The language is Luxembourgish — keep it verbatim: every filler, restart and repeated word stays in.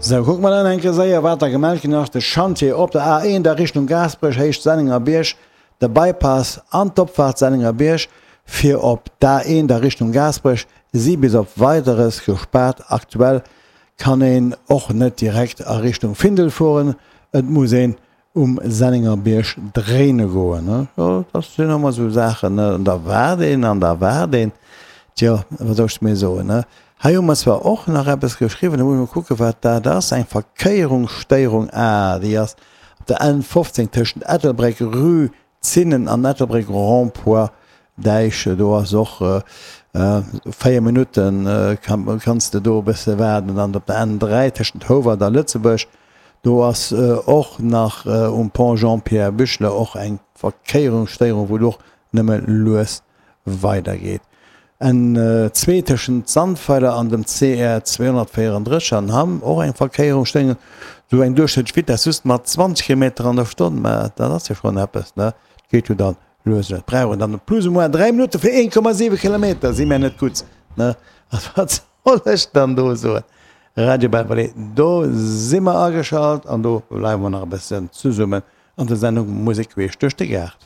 Sou, kucke mer dann eng Kéier séier, wat da gemellt ginn ass. De Chantier op der A eent a Richtung Gaasperech, Héicht Sennengerbierg, de Bypass an d'Opfaart Sennengerbierg fir op d'A eent a Richtung Gaasperech si bis op Weideres gespaart. Aktuell kann een och net direkt a Richtung Findel fueren, et muss een um Sennengerbierg dréine goen. Jo, dat sinn ëmmer esou Saachen, ne, an da waart een an da waart een. Tjo, wat soll ech méi soen, ne? Hei hu mer zwar och nach eppes geschriwwen, da muss ech mol kucken, wat dat ass, eng Verkéierungsstéierung, ah, déi ass op der N fofzéng tëschent Ettelbréck, Rue Zinnen an Ettelbréck, Rond-point Däich. Do ass och véier Minutten, kanns de do e bësse waarden. An op der N dräi tëschent Houwald a Lëtzebuerg, do ass och nach um Pont Jean-Pierre Büchler och eng Verkéierungsstéierung, wou et och nëmme lues weidergeet. N zwee tëschent Sandweiler an dem C R zweehonnertvéierendrësseg an Hamm, och eng Verkéierungsstéierung, sou eng duerchschnëttlech Vitess just mat zwanzeg Kilometer an der Stonn, mä dat ass jo schonn eppes, ne? Geet jo dann lues lues. Brauch een dann plus ou moins dräi Minutte fir een Komma siwe Kilometer, si mär net gutt, ne? Also wat soll ech dann do soen? Radio Belval, do si mer ageschalt an do bleiwe mer nach e bëssen zesummen an der Sendung Musek queesch duerch de Gaart.